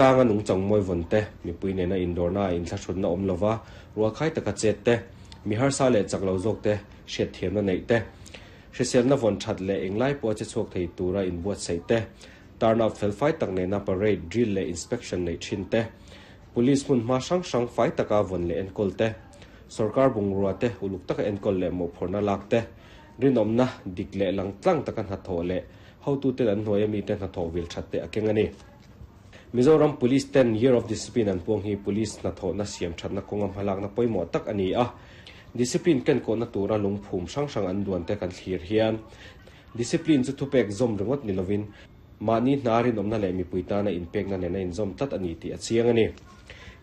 Tlanga nungchang mawi vawn te, mipui nena indawrna ah inthlahrunna awm lova rualkhai taka chet te, mi harsa leh chak lo zawk te hriatthiamna neih te, hriselna vawn that leh englai pawha che chhuak thei tura inbuatsaih te, turn out felfai tak nena parade, drill leh inspection neih thin te, police hmun hma hrang hrang fai taka vawn leh enkawl te, sorkar bungrua te uluk taka enkawl leh mawhphurhna lak te, rinawmna dik leh langtlang taka hnathawh leh hotuten an hnuaia mite hnathawh vil that te a keng a ni. Mizoram Police ten Year of Discipline an puang hi Police hnathawhna siam thatna kawnga hmalakna pawimawh tak a ni a. Discipline kenkawhna tura lungphum hrang hrang an duan te kan thlir hian Discipline chu thupek zawm ringawt ni lovin mahni hna rinawmna leh mipui tana inpekna nena inzawm tlat a ni tih a chiang a ni.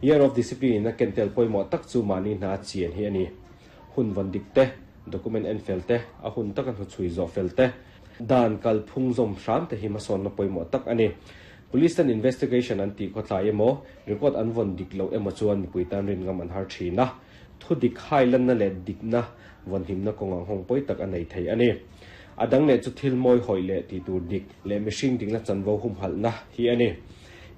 Year of Discipline in a kentel pawimawh tak chu mahni hna chian hi a ni. Hun vawn dik te, document en fel te, a hun taka hnuchhui zawh fel te, Dan kalphung zawm hram te hi hmasawnna pawimawh tak a ni. Police ten investigation an tih khawtlai emaw, record an vawn dik loh emaw chuan mipui tan rin ngam an har thin a. Thu dik hai lanna leh dikna vawnhimna kawngah nghawng pawi tak a nei thei a ni. A dang leh chu thil mawi hawih leh tih tur dik leh mihring dikna chanvo humhalhna hi a ni.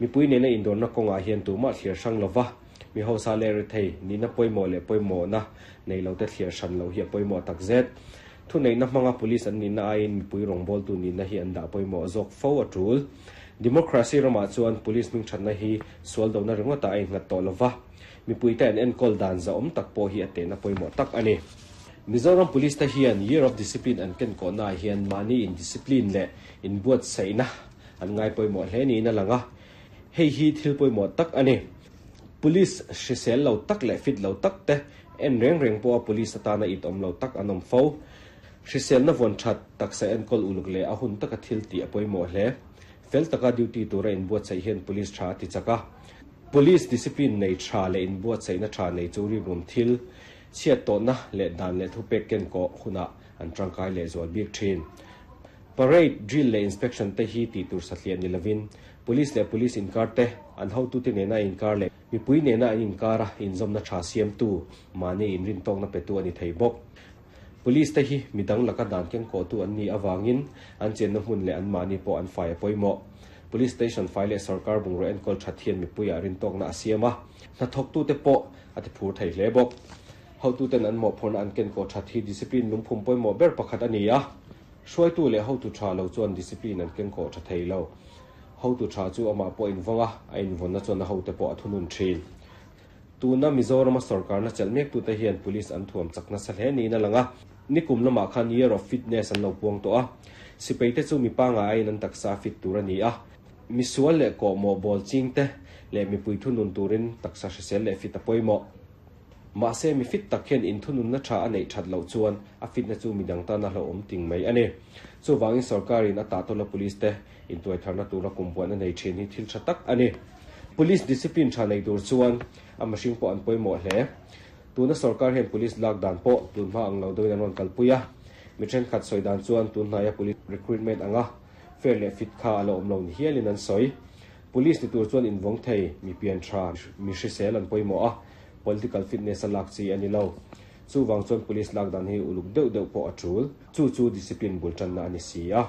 Mipui nena indawrna kawngah hian tumah thliar hrang lova mi hausa leh rethei nihna pawimawh leh pawimawhna nei lote thliar hran loh hi a pawimawh takzet. Thuneihna hmanga police an nihna aiin mipui rawngbawltu nihna hi an dah pawimawh zawk fo a tul. Democracy ramah chuan police hmingthatna hi sual dona ringawtah a innghat tawh lova, mipuite an enkawl dan zahawm tak pawh hi a tehna pawimawh tak a ni. Mizoram Police te hian Year of Discipline an kenkawhnaah hian mahni indiscipline leh inbuatsaihna an ngai pawimawh hle niin a lang a, hei hi thil pawimawh tak a ni. Police hrisel lo tak leh fit lo tak te en reng reng pawha police atana it awm lo tak an awm fo. Hriselna vawn that, taksa enkawl uluk leh a hun taka thil tih a pawimawh hle. Fel taka duty tura inbuatsaih hian police tha a ti chak a. Police discipline nei tha leh inbuatsaihna tha nei chu rikrum thil, chhiat tawhna leh dan leh thupek kenkawh hunah an tangkai lehzual bik thin. Parade, drill leh inspection te hi tih tur satliah ni lovin, Police leh Police inkar te, an hotute nena inkar leh mipui nena an inkara inzawmna tha siamtu, mahni inrintawkna petu a ni thei bawk. Police te hi midang laka dan kengkawhtu an nih avangin an chenna hmun leh anmahni pawh an fai a pawimawh. Police station fai leh sorkar bungraw enkawl that hian mipuiah rintawkna a siam a, hnathawktute pawh a tiphur thei hle bawk. Hotuten an mawhphurhna an kenkawh that hi discipline lungphum pawimawh ber pakhat a ni a. Hruaitu leh hotu tha lo chuan discipline an kengkawh tha thei lo. Hotu tha chu amah pawh invawng a, a invawnna chuan a hote pawh a thunun thin. Tuna Mizorama sorkarna chelh mektute hian police an thuam chak nasa hle niin a lang a. Nikum lamah khan Year of Fitness an lo puang tawh a. Sipaite chu mi pangai aiin an taksa a fit tur a ni a. Misual leh kawhmawh bawl chingte leh mipui thunun turin taksa hrisel leh fit a pawimawh. Mahse, mi fit tak hian inthununna tha a neih that loh chuan a fitna chu midang tan a hlauhawm ting mai a ni. Chuvangin sorkarin a tahtawla police te intuaitharna tura kum buan a nei thin hi thil tha tak a ni. Police discipline tha nei tur chuan a mihring pawh an pawimawh hle. Tuna sorkar hian police lak dan pawh tunhma ang lo deuhin an rawn kalpui a. Mi thenkhat sawi dan chuan tunhnaia police recruitment anga fair leh fit kha a la awm lo ni hialin an sawi. Police ni tur chuan invawng thei, mi pian tha, mi hrisel an pawimawh a, political fitness a lak chi a ni lo. Chuvang chuan police lak dan hi uluk deuh deuh pawh a tul. Chu chu discipline bul tanna a ni si a.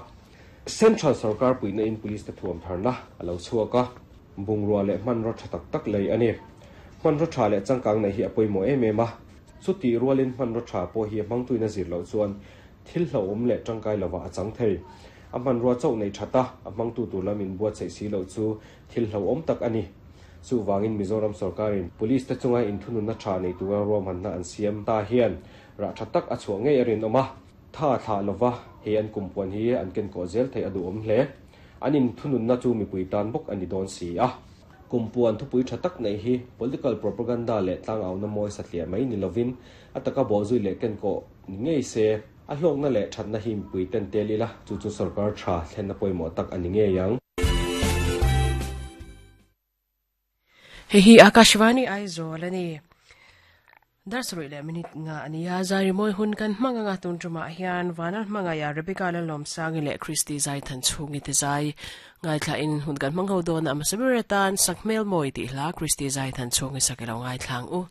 Central sorkar puihna in police te thuam tharna a lo chhuak a, bungrua leh hmanraw tha tak tak lei a ni. Hmanraw tha leh changkang neih hi a pawimawh em em a. Chutih rualin hmanraw tha pawh hi a hmangtuin a zir loh chuan thil hlauhawm leh tangkai lovah a chang thei. A hmanrua chauh nei that a, a hmangtu tur lam inbuatsaih si loh chu thil hlauhawm tak a ni. Chuvangin Mizoram sorkarin Police te chunga inthununna tha nei tura ruahmanna an siam ta hian rah tha tak a chhuah ngei a rinawm a. Tha thlah lova hei an kumpuan hi an kenkawh zel theih a duhawm hle. An inthununna chu mipui tan bawk a ni dawn si a. Kumpuan thupui tha tak neih hi political propaganda leh tlangauna mawi satliah mai ni lovin a taka bawhzui leh kenkawh ni ngei se. A hlawkna leh thatna hi mipui ten tel ila, chu chu sorkar tha thlenna pawimawh tak a ni ngei ang. Hei hi Akashvani Aizawl a ni. Dar sarih leh minute nga a ni a, zai rimawi hun kan hmang anga tun tumah hian Vanal hmangaia Rebecca Lalawmsangi leh Christy Zaithan chhungi te zai ngaithla in hun kan hmang ho dawn a, hmasa ber atan Sakhmel Mawi tih hla Christy Zaithan chhungi sak ilo ngaithla ang u.